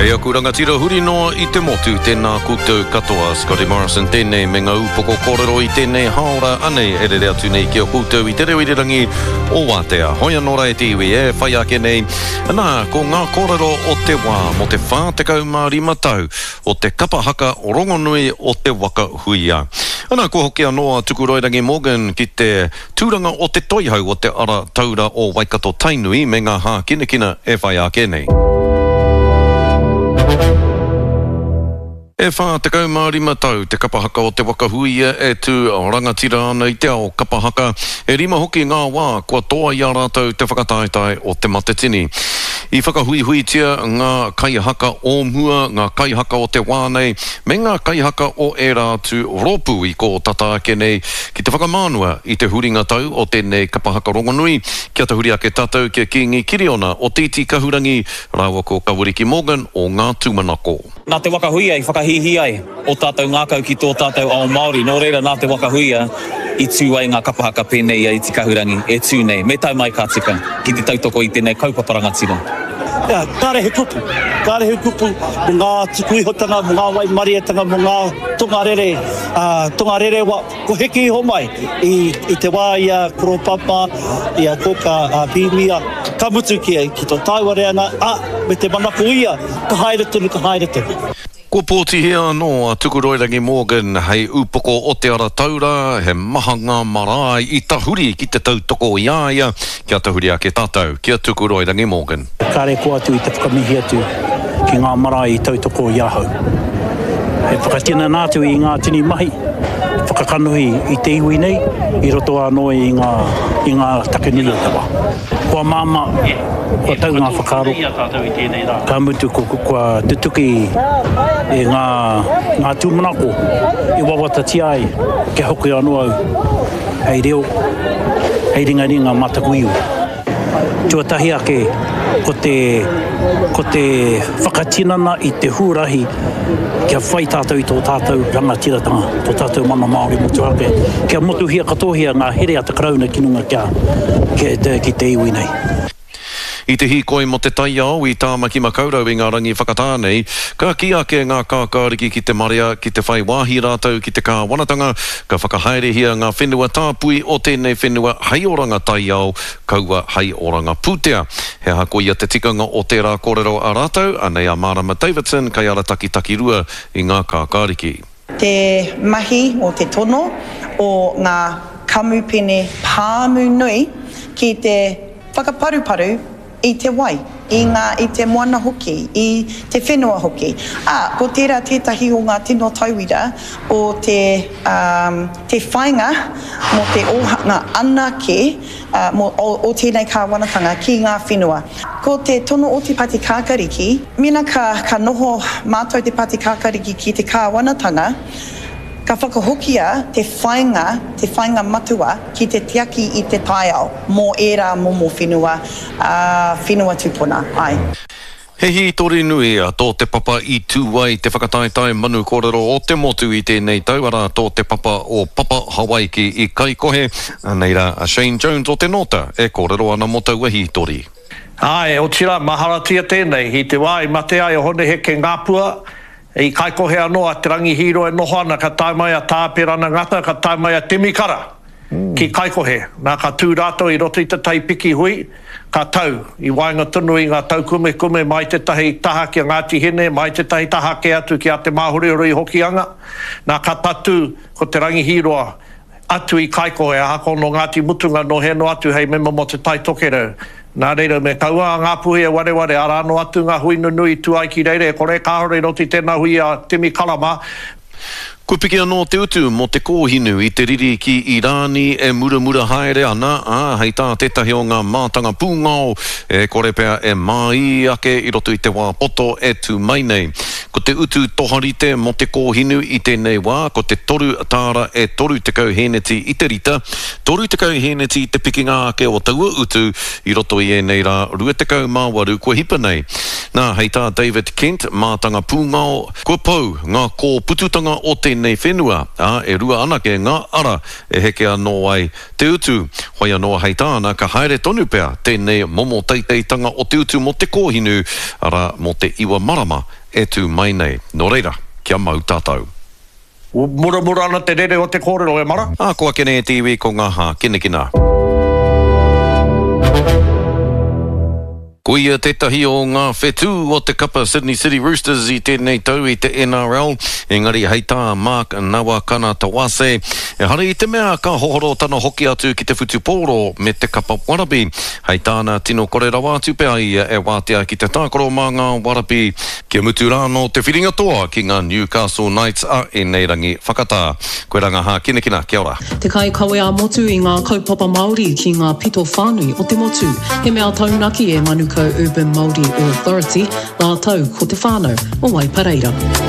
E aku rangatira huri noa i te motu, tēnā koutou katoa. Scotty Morrison tēnei me ngā upoko kōrero i tēnei hāora anei e rere atu nei ki a koutou i te reo irirangi o Wātea. Hoi anō rā e te iwi e whai ake nei, nā, ko ngā kōrero o te wā mō te 45 tau o te kapa haka rongonui o te waka huia. Ana, kua hoki anō a Tukuroirangi Morgan ki te tūranga o te toihau o te ara taura o Waikato Tainui me ngā hākinakina e whai ake nei. E 45 tau te kapa haka o Te Waka Huia e tū rangatira ana i te ao kapa haka, e rima hoki ngā wā kua toa i a rātou te whakataetae o Te Matatini. I whakahuihuitia ngā kaihaka o mua, ngā kaihaka o te wā nei, me ngā kaihaka o ērā atu rōpū i kō tata ake nei ki te whakamānua i te huringa tau o tēnei kapa haka rongonui, kia tahuri ake tātou ki a Kīngi Kiriona o Te Iti Kahurangi rāua ko Kawariki Morgan o Ngā Tūmanako. Nā Te Waka Huia i whakahīhī ai ō tātou ngākau ki tō tātou ao Māori, nō reira nā Te Waka Huia i tū ai ngā kapa haka pēnei i a Iti Kahurangi e tū nei, me tau mai ka tika, ki te tautoko i tēnei kaupapa rangatira. Ea, kāre he kupu, kāre he kupu mō ngā tuku ihotanga, mō ngā waimarietanga, mō ngā tongarere, ā, tongarerewa, ko heke iho mai i, i te wā i a Koro Papa, i a Kōkā, a Pīmia, ka mutu ki, ki tō tāua reanga, ā, me te manako ia, ka haere tonu, ka haere tonu. Kua pōtihia anō a Tukuroirangi Morgan hei upoko o Te Ara Taura, he maha ngā marae i tahuri ki te tautoko i a ia, kia tahuri ake tātou ki a Tukuroirangi Morgan. Kāre kō atu i te whakamihi atu ki ngā marae i tautoko i ahau. He whakatinana atu i ngā tini mahi whakakanohi i te iwi nei i roto anō i ngā, i ngā take nui o te wā. Kua māmā, kua tau ngā whakaaro, ka mutu kua tutuki i ngā, ngā tūmanako i wawatatia ai kia hoki anō au hei reo, hei ringaringa mā taku iwi. Tuatahi ake, ko te, ko te whakatinana i te huarahi kia whai tātou i tō tātou rangatiratanga, tō tātou mana Māori motuhake, kia motuhia katohia ngā here a te Karauna ki runga kia, ki te, ki te iwi nei. I te hīkoi mō te taiao i Tāmaki Makaurau i ngā rangi whakatā nei, ka kī ake ngā kākāriki ki te marea ki te whai wāhi rātou ki te kāwanatanga, ka whakahaerehia ngā whenua tāpui o tēnei whenua hei oranga taiao, kaua hei oranga pūtea. He aha koia te tikanga o tērā kōrero a rātou? Anei a Marama Davidson, kaiarataki takirua i ngā kākāriki. Te mahi o te tono o ngā kamupene pāmu nui ki te whakaparuparu i te wai, i ngā, i te moana hoki, i te whenua hoki. Ā, ko tērā tētahi o ngā tino tauira o te, ā, te whāinga mō te ōhanga anake, ā, mō, o, o tēnei kāwanatanga ki ngā whenua. Ko te tono o Te Pati Kākariki, mēnā ka, ka noho mātou Te Pati Kākariki ki te kāwanatanga, ka whakahokia te whāinga, te whāinga matua ki te tiaki i te taiao mō ērā momo whenua, ā, whenua tupuna ai. He hītori nui tō Te Papa i tū ai te whakataetae manu kōrero o te motu i tēnei tau, arā, tō Te Papa o Papa Hawaiki i Kaikohe. Anei rā a Shane Jones o Te Nōta e kōrero ana mō taua hītori. Āe, otirā, maharatia tēnei, i te wā i mate ai a Hone Heke Ngāpua, I Kaikohe anō a Te Rangi Hīroa e noho ana, ka tae mai a Tā Apirana Ngata, ka tae mai a Temi Kara ki Kaikohe. Nā, ka tū rātou i roto i te tai piki hui, ka tau i waenga tonu i ngā taukumekume mai tētahi taha ki a Ngāti Hine, mai tētahi taha kē atu ki a Te Māhorihori i Hokianga. Nā, ka tatū ko Te Rangi Hīroa atu i Kaikohe, ahakoa nō Ngāti Mutunga, nō hea noa atu hei mema mō Te Tai Tokerau. Nā reira, me kaua a Ngāpuhi e wareware, arā noa atu ngā hui nunui i tū ai ki reira, e kore kāore i roto i tēnā hui a Timi Kara mā. Kua piki anō te utu mō te kōhinu i te riri ki Irāni e muramura haere ana, ā, hei tā tētahi o ngā mātanga pūngao, e kore pea e māī ake i roto i te wā poto e tū mai nei. Ko te utu toharite mō te kōhinu i tēnei wā, ko te toru tāra e 30 hēneti i te rita, 30 hēneti te pikinga ake o taua utu i roto i ēnei rā 28 kua hipa nei. Nā, hei tā David Kent, mātanga pūngao, kua pau ngā kōpututanga o tēnei whenua, ā, e rua anake ngā ara e heke anō ai te utu. Whai anō hei tāna, ka haere tonu pea tēnei momo teiteitanga o te utu mō te kōhinu, arā, mō te iwa marama e tū mai nei. Nō reira, kia mau tātou. Muramura ana te rere o te kōrero, e mara. Ā, ko ake nei e te iwi ko ngā hākinakina. Ko ia tētahi o ngā whetū o te kapa Sydney City Roosters i tēnei tau i te NRL, engari hei tā Mark Nawakanatawase, ehara i te mea ka hohoro tana hoki atu ki te whutupōro me te kapa warabi. Hei tāna, tino kore rawa atu pea ia e wātea ki te tākaro mā ngā warabi Kia mutu rā anō te whiringa toa ki ngā Newcastle Knights a ēnei rangi whakatā. Koirā ngā hākinakina, kia ora. Te kaikawe ā-motu i ngā kaupapa Māori ki ngā pito whānui o te motu. He mea taunaki e Manukau Urban Māori Authority rātou ko te whānau o Waipareira.